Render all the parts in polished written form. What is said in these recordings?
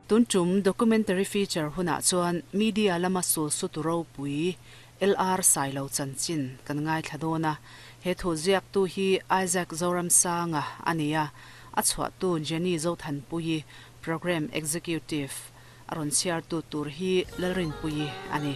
Tun tum documentary feature hunah chuan media lama sul sutu ropui LR Sailo chanchin kan ngaithla dawn a. He thu ziaktu hi Isaac Zoramsanga a ni a, a chhuahtu Jenny Zothanpuii, Programme Executive a rawn chhiartu tur hi Lalrinpuii a ni.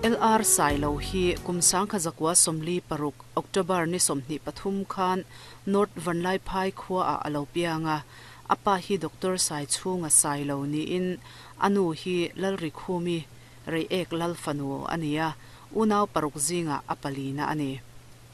LR Sailo hi kum 1946 October ni 23 khan North Vanlaiphai khuaah a lo piang a, a pa hi Doctor Saichhunga Sailo niin a nu hi Lalrikhumi Reiek Lalfanu a ni a, unau paruk zingah a palina a ni.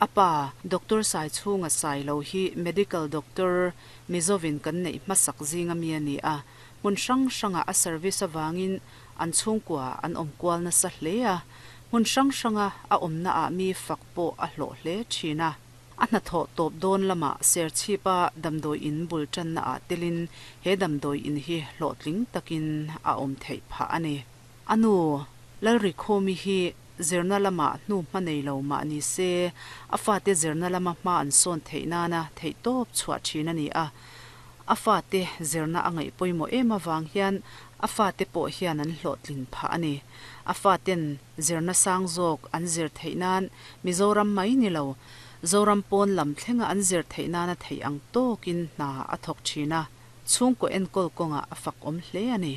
A pa, Doctor Saichhunga Sailo hi Medical Doctor Mizovin kan neih hmasak zinga mi a ni a, hmun hrang hrangah a service avangin an chhungkua an awm kual nasa hle a, hmun hrang hranga a awmnaah mi fak pawh a hlawh hle thin a. A hnathawh tawp dawn lamah Serchhipa damdawi in bul tannaah telin he damdawi in hi hlawhtling takin a awm theih phah a ni. A nu, Lalrikhawmi hi zirna lamah hnu hma nei lo mah ni se, a fate zirna lama hma an sawn theih nana theihtawp chhuah thin a ni a. A fate zirna a ngaih pawimawh em avang hian a fate pawh hian an hlawhtlin phah a ni. A faten zirna sang zawk an zir theih nan Mizoram mai ni lo, Zoram pawn lam thlenga an zir theih nana theih ang tawkin hna a thawk thin a, chhungkaw enkawl kawngah a fak awm hle a ni.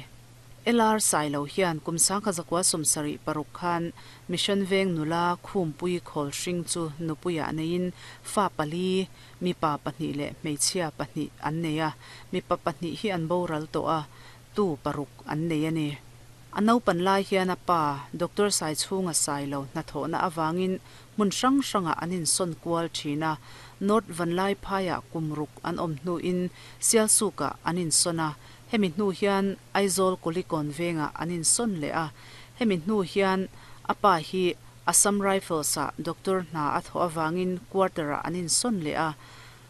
LR Sailo hian kum 1976 khan Mission Veng nula Khumpui Khawlhring chu nupuiah neiin fa pali, mipa pahnih leh hmeichhia pahnih an nei a, mipa pahnih hi an boral tawh a, tu paruk an nei a ni. A naupan lai hian a pa, Doctor Saichhunga Sailo hnathawhna avangin hmun hrang hrangah an insawn kual thin a, North Vanlaiphaiah kum ruk an awm hnuin Sialsukah an insawn a, Hemi hnu hian Aizawl Kulikawn vengah an insawn leh a, hemi hnu hian a pa hi Assam Rifles-ah doctor hna a thawh avangin quarter-ah an insawn leh a.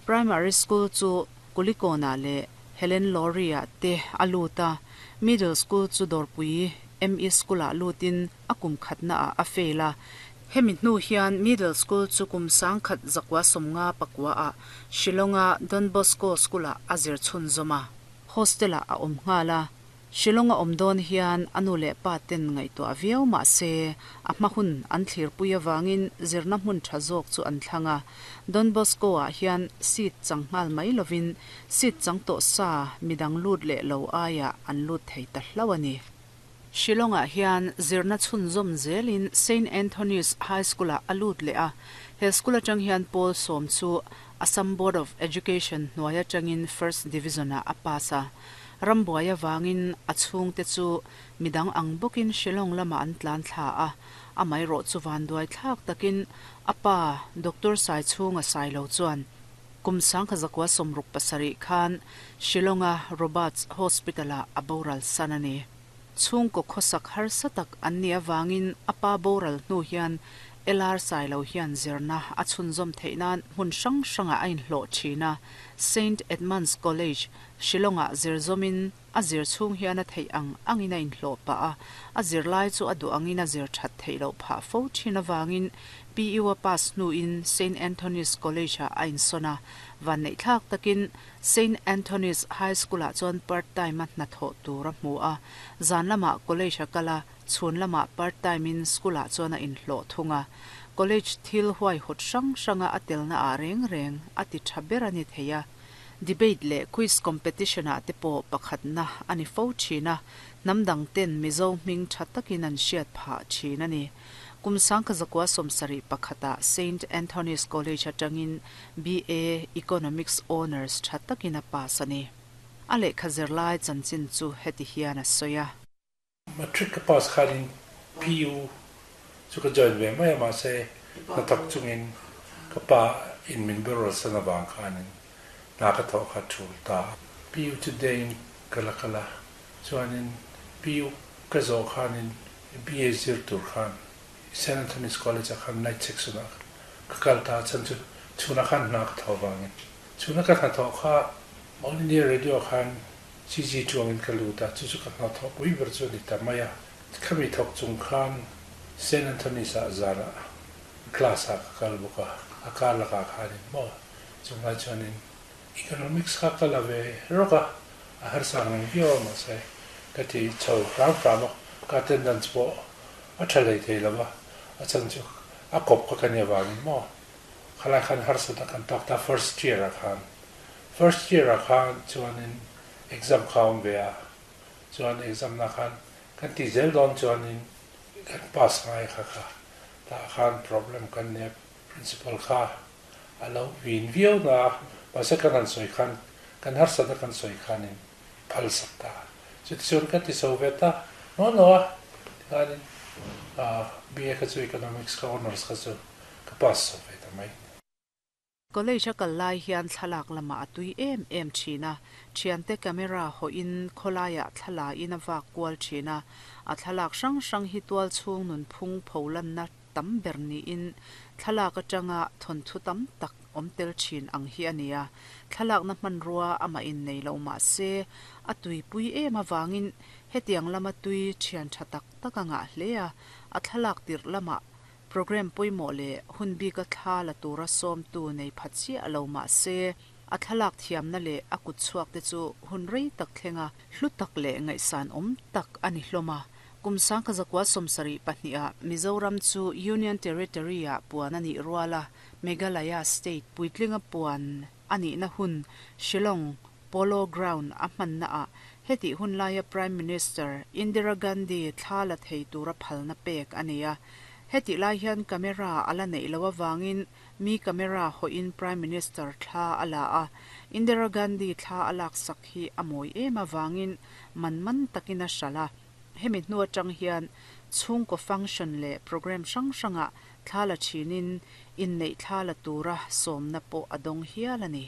Primary School chu Kulikawnah leh Helen Lawry-ah te a lut a, Middle School chu Dawrpui ME School-ah lutin a kum khatnaah a fail a. Hemi hnu hian Middle School chu kum 1959-ah Shillong-a Don Bosco School-ah a zir chhunzawm a. Hostel-ah a awm nghal a, Shillong a awm dawn hian a nu leh pa ten ngaihtuah viau mah se, a hma hun an thlirpui avangin zirna hmun tha zawk chu an thlang a. Don Bosco-ah hian seat chang nghal mai lovin seat chang tawh sa midang lut leh lo aiah an lut thei ta hlauh a ni. Shillong-ah hian zirna chhunzawm zelin Saint Anthony's High School-ah a lut leh a, he school atang hian pawl sawm chu Assam Board of Education hnuai atangin First Division-ah a pass a. Rambuai avangin a chhungte chu midang ang bawkin Shillong lamah an tlan thla a, amaherawh chu vanduai thlak takin a pa Doctor Saichhunga Sailo chuan Kum 1967 khan Shillong-a Roberts Hospital-ah a boral san a ni. Chhungkaw khawsak harsa tak an nih avangin a pa boral hnu hian LR Sailo hian zirna a chhunzawm theih nan hmun hrang hrangah a inhlawh thin a, Saint Edmund's College, Shillong-ah zir zawmin a zir chhung hian a theih ang angin a inhlawh pah a, a zirlai chu a duh angin a zir that theih loh phah fo thin avangin PU a pass hnuin Saint Anthony's College-ah a insawn a, vanneihthlak takin Saint Anthony's High School-ah chuan part time-a hnathawh tur a hmu a, zan lamah college a kal a, chhun lamah part time-in school-ah chuan a inhlawh thung a. College thil huaihawt hrang hranga a telnaah reng reng a ti tha ber a ni thei a. Debate leh quiz competition-ah te pawh pakhatna a ni fo thin a, hnam dang ten Mizo hming tha takin an hriat phah thin a ni. Kum 1971-ah Saint Anthony's College atangin BA Economics Honours tha takin a pass a ni. A lehkha zirlai chanchin chu heti hian a sawi a. Matric ka pass khanin PU chu ka join ve mai a, mahse hnathawk chungin ka pa in min boral san avang khanin hna ka thawh kha thul ta a. PU chu day in ka la kal a, chuanin PU ka zawh khanin BA zir tur khan Saint Anthony's College ah khan night section ah ka kal ta a, chhan chu chhunah khan hna ka thawh avangin chhuna ka hnathawh kha All India Radio ah khan CG chuangin ka lut a, chu chu ka hnathawh pui ber chu a ni ta mai a. Khami thawk chung khan Saint Anthony's ah zanah class ah ka kal bawk a, a kar lakah khanin maw. Chunglai chuanin Economics kha ka la ve rawk a, a harsa ang reng viau a mahse ka ti chho hram hram a, ka attendance pawh a tha hlei thei lo va, a chhan chu a kawp kha ka nih avangin maw khalai khan harsatna kan tawk ta first year ah khan. First year ah khan chuanin exam kha a awm ve a, chuan exam na khan kan tih zel dawn chuanin kan pass ngai kha kha tah khan problem kan nia principal kha a lo vin viau na a, mahse kan han sawi khan kan harsatna kan sawi khanin phal sak ta a, chutichuan ka ti chho ve ta nual lo a, tikhanin BA kha chu Economics kha Honours kha chu ka pass chho ve ta mai. College a kal lai hian thlalak lamah a tui em em thin a, thiante camera hawhin khawlaiah thla in a vak kual thin a, a thlalak hrang hrang hi tualchhung nunphung pholanna tam ber niin thlalak atanga thawnthu tam tak awm tel thin ang hi a ni a, thlalakna hmanrua amah in nei lo mah se a tuipui em avangin hetiang lama tui thian tha tak tak a ngah hle a, a thlalak tirh lamah program pawimawh leh hun bika thla la tura sawmtu nei pha chiah lo mah se a thlalak thiamna leh a kutchhuak te chu hun rei tak thlenga hlu tak leh ngaihsan awm tak a ni hlawm a. Kum 1972 ah Mizoram chu Union Territory ah puan a nih rual a, Meghalaya State puitlinga puan a nihna hun Shillong Polo Ground a hmanna ah hetih hun laia Prime Minister Indira Gandhi thla la thei tura phalna pek a ni a. Hetih lai hian camera a la neih loh avangin mi camera hawhin Prime Minister thla a la a, Indira Gandhi thla a laksak hi a mawi em avangin man man takin a hralh a. Hemi hnu atang hian chhungkaw function leh programme hrang hrangah thla la thinin inneih thla la tura sawmna pawh a dawng hial a ni.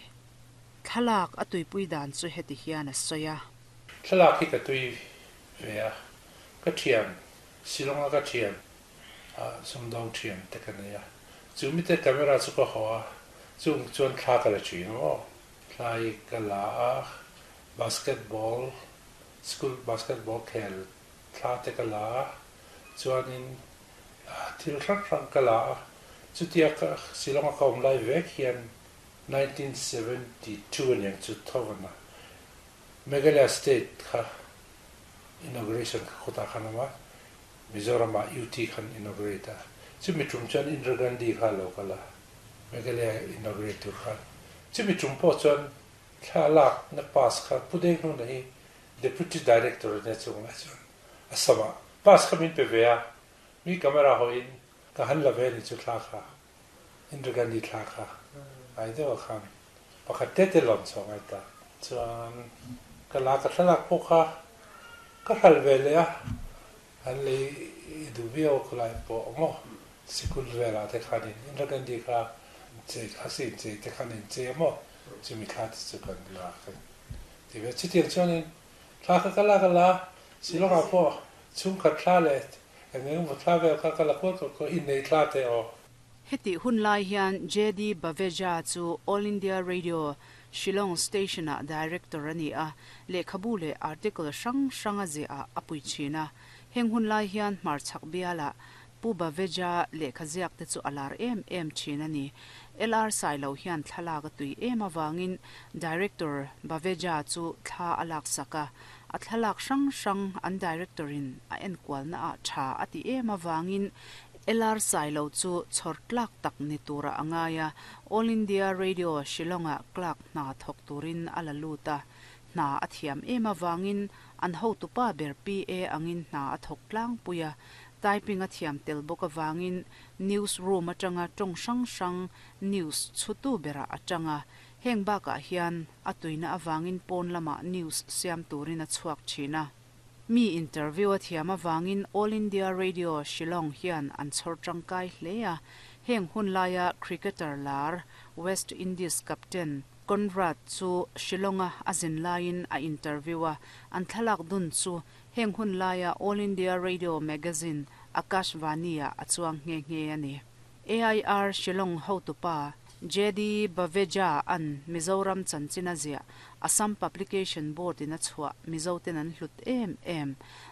Thlalak a tuipui dan chu heti hian a sawi a. Thlalak hi ka tui ve a, ka thian, Shillong-a ka thian, sumdawng thian te ka nei a. Chu mite camera chu ka haw a, chung chuan thla ka la thin aw. Thla hi ka la a, basketball School basketball khel thla te ka la a, chuanin thil hrang hrang ka la a, chutia ka Shillong a ka awm lai vek hian 1972 aniang chu tho a, Meghalaya state kha inauguration kha khawtah khan awm a, Mizoram ah UT khan inaugurate a, chumi tum chuan Indira Gandhi kha a lo kal a, Meghalaya inaugurate tur khan, chumi tum pawh chuan Thla lak na pass kha Pu Deng Hnuna hi Deputy Director a nia chung lai chuan a sam ah pass kha min pe ve a, mi camera haw in ka han la ve ni chu thla kha Indira Gandhi thla kha ngai deuh a khan pakhat te te lawm chhuak ngai ta. Chuan ka la ka thlalak pawh kha ka hral ve leh a, an lei duh viau ka lai pawh maw sikul velah te khan in Indira Gandhi kha chei a sin chei te khan in chei a maw Chumi thla te chu kan la ka ti ve. Chutiang chuanin thla kha ka lak a la, Shillong ah pawh chhungkhat thla leh eng eng emaw thla vel kha ka la kual kual kual, innei thla te aw. Hetih hun lai hian JD Baveja chu All India Radio, Shillong Station-ah Director a ni a, lehkhabu leh article hrang hrang a ziahah a pui thin a. Heng hun lai hian hmarchhak bialah Pu Baveja lehkha ziak te chu a lar em em thin a ni. LR Sailo hian thlalak a tui em avangin Director Baveja chu thla a laksak a, a thlalak hrang hrang an Director in a enkualna ah tha a ti em avangin LR Sailo chu chhawr tlak tak ni turah a ngai a, All India Radio Shillong ah clerk hna thawk turin a la lut a, hna a thiam em avangin an hotupa ber PA angin hna a thawk tlangpui a, Typing a thiam tel bawk avangin news room atanga tawng hrang hrang news chhutu berah a tang a, heng bakah hian a tuina avangin pawn lamah news siam turin a chhuak thin a. Mi interview a thiam avangin All India Radio Shillong hian an chhawr tangkai hle a, heng hun laia cricketer lar West Indies captain Conrad chu Shillong-a a zin laiin a interview a, an thlalak dun chu Heng hun laia All India Radio Magazine Akashvani-ah a chuang nghe nghe a ni. AIR Shillong hotupa JD Baveja an Mizoram chanchin a ziah Assam Publication Board-in a chhuah Mizoten an hlut em em.